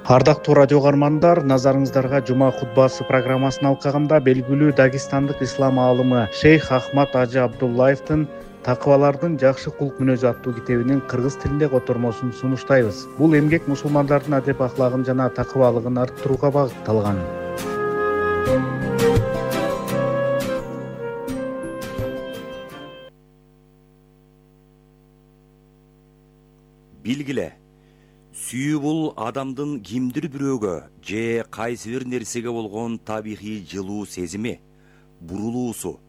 Ардактуу радио каармандар, назарыңыздарга жума хутбасы программасын алкагында белгилүү дагестандык ислам аалымы шейх Ахмад Ажы Абдуллаевдин «Такыбалардын жакшы кулк мүнөзү» аттуу китебинин кыргыз тилинде котормосун сунуштайбыз. Бул эмгек мусулмандардын адеп ахлагын жана такыбалыгын арттырууга багытталган. Билгиле, сүйүү бул адамдын кимдир бирөөгө же кайсы бир нерсеге болгон табигый жылуу сезими, бурулуусу,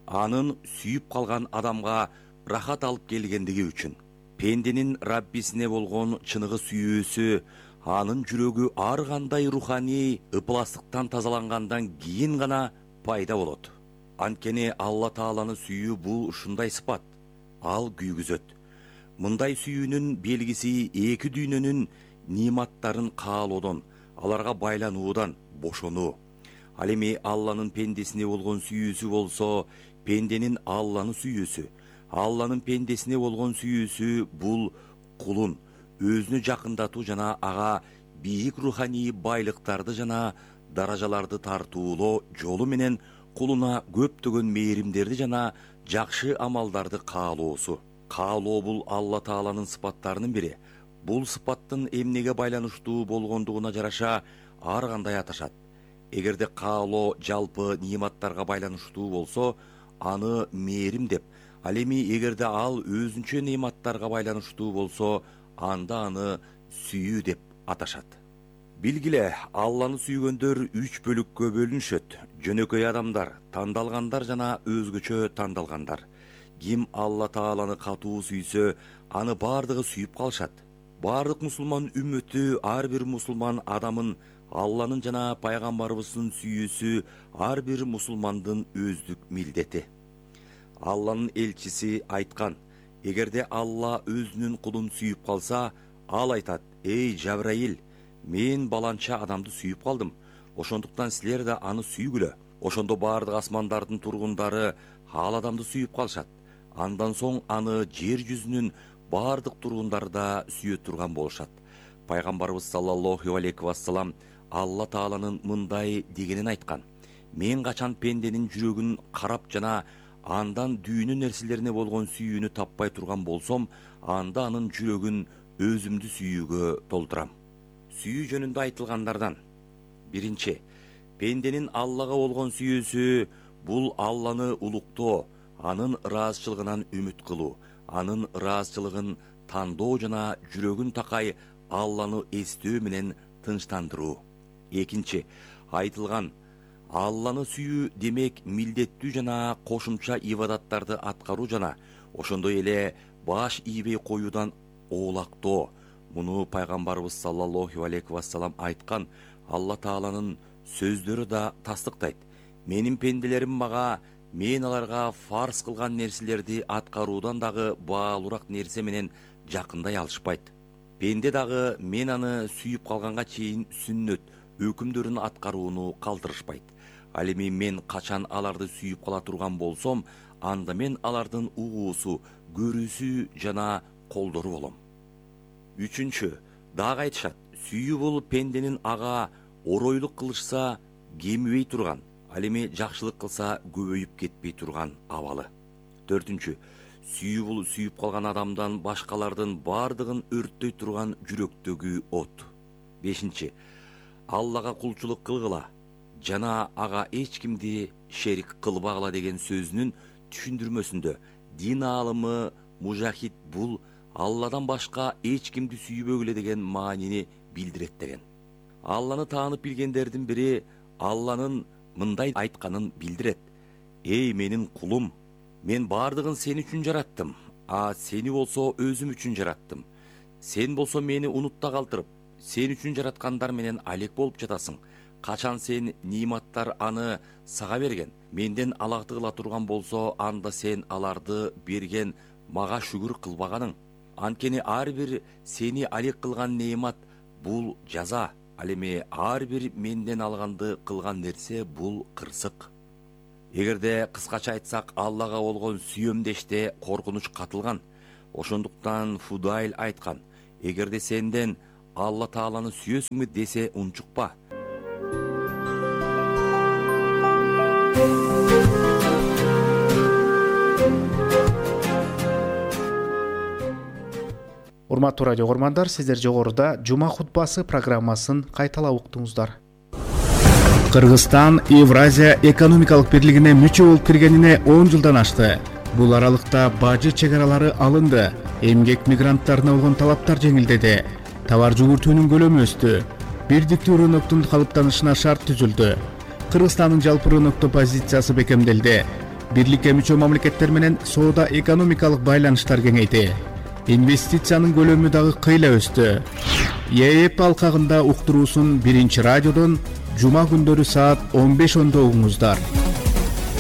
анын сүйүп калган адамга рахат алып келгендиги үчүн. Пенденин Раббисине болгон чыныгы сүйүүсү анын жүрөгү ар кандай руханий ыпластыктан тазалангандан кийин гана пайда болот. Анткени Алла Тааланы сүйүү бул ушундай сыпат. Ал күйгүзөт. Мындай сүйүүнүн белгиси эки дүйнөнүн ниматтарын каалоодон, аларга байлануудан бошонуу. Ал эми Алланын пендесине болгон сүйүүсү болсо, пенденин Алланы сүйүүсү, Алланын пендесине болгон сүйүүсү бул кулун өзүнө жакындатуу жана ага бийик руханий байлыктарды жана даражаларды тартуулоо жолу менен кулуна көптөгөн мээримдерди жана жакшы амалдарды каалоосу. Каалоо бул Алла Тааланын сыпаттарынын бири. Бул сыпаттын эмнеге байланыштуу болгондугуна жараша ар кандай аташат. Эгерде каалоо жалпы ниматтарга байланыштуу болсо, аны мээрим деп, ал эми эгерде ал өзүнчө ниматтарга байланыштуу болсо, анда аны сүйүү деп аташат. Билгиле, Алланы сүйгөндөр 3 бөлүккө бөлүнүшөт: жөнөкөй адамдар, тандалгандар жана өзгөчө тандалгандар. Ким Алла Тааланы катуу сүйсө, аны бардыгы сүйүп калышат. Бардык мусулман үммөтү, ар бир мусулман адамын Алланын жана пайгамбарыбыздын сүйүүсү ар бир мусулмандын өздүк милдети. Алланын элчиси айткан: эгерде Алла өзүнүн кулун сүйүп калса, ал айтат: эй Жабраил, мен баланча адамды сүйүп калдым. Ошондуктан силер да аны сүйгүлө. Ошондо бардык асмандардын тургундары ал адамды сүйүп калышат. Андан соң аны жер жүзүнүн бардык тургундары да сүйө турган болушат. Пайгамбарыбыз саллаллаху алейхи вассалам Алла Тааланын мындай дегенин айткан: мен качан пенденин жүрөгүн карап жана андан дүйнө нерселерине болгон сүйүүнү таппай турган болсом, анда анын жүрөгүн өзүмдү сүйүүгө толтурам. Сүйүү жөнүндө айтылгандардан: биринчи, пенденин Аллага болгон сүйүүсү бул Алланы улуктоо, анын ыраазычылыгынан үмүт кылуу, анын ыраазычылыгын тандоо жана жүрөгүн такай Алланы эстөө менен тынчтандыруу. Экинчи, айтылган Алланы сүйүү демек милдеттүү жана кошумча ибадаттарды аткаруу жана ошондой эле баш ийбей коюудан оолактоо. Муну пайгамбарыбыз саллаллаху алейхи вассалам айткан. Алла Тааланын сөздөрү да тастыктайт: менин пенделерим мага мен аларга фарз кылган нерселерди аткаруудан дагы баалуураак нерсе менен жакындай алышпайт. Пенде дагы мен аны сүйүп калганга чейин сүннөт өкүмдөрүн аткарууну калтырышпайт. Ал эми мен качан аларды сүйүп кала турган болсом, анда мен алардын угуусу, көрүүсү жана колдору болом. Үчүнчү, дагы айтышат: сүйүү бул пенденин ага оройлук кылышса кемибей турган, ал эми жакшылык кылса көбөйүп кетпей турган абалы. Төртүнчү, сүйүү бул сүйүп калган адамдан башкалардын бардыгын өрттөй турган жүрөктөгү от. Бешинчи, Аллага кулчулук кылгыла жана ага эч кимди шерик кылбагыла деген сөзүнүн түшүндүрмөсүндө дин аалымы Мужахид бул Алладан башка эч кимди сүйбөгүлө деген маанини билдирет деген. Алланы таанып билгендердин бири Алланын мындай айтканын билдирет: эй менин кулум, мен бардыгын сен үчүн жараттым, сени болсо өзүм үчүн жараттым. Сен болсо мени унутта калтырып, сен үчүн жараткандар менен алек болуп жатасың. Качан сен ниматтар аны сага берген, менден алагды кыла турган болсо, анда сен аларды берген мага шүгүр кылбаганың. Анткени ар бир сени алек кылган неимат бул жаза. Ал эми ар бир менден алганды кылган нерсе бул кырсык. Эгерде кыскача айтсак, Аллага болгон сүйөмдеште коркунуч катылган. Ошондуктан Фудайль айткан: эгерде сенден Алла Тааланы сүйөсүңбү десе унчукпа. Урматтуу радио көрмандар, сиздер жогоруда Жума хутбасы программасын кайталап уктуңуздар. Кыргызстан Евразия экономикалык бирлигине мүчө болуп киргенине 10 жылдан ашты. Бул аралыкта бажы чек аралары алынды, эмгек мигранттарына болгон талаптар жеңилдеди, товар жүгүртүүнүн көлөмү өстү, бирдиктүү рыноктун калыптанышына шарт түзүлдү. Кыргызстандын жалпы рынокто позициясы бекемделди. Бирликке мүчө мамлекеттер менен соода экономикалык байланыштар кеңейди. Инвестициянын көлөмү дагы кыйла өстү. ЕЭП алкагында уктуруусун 1-радиодон жума күндөрү саат 15:10 угуңуздар.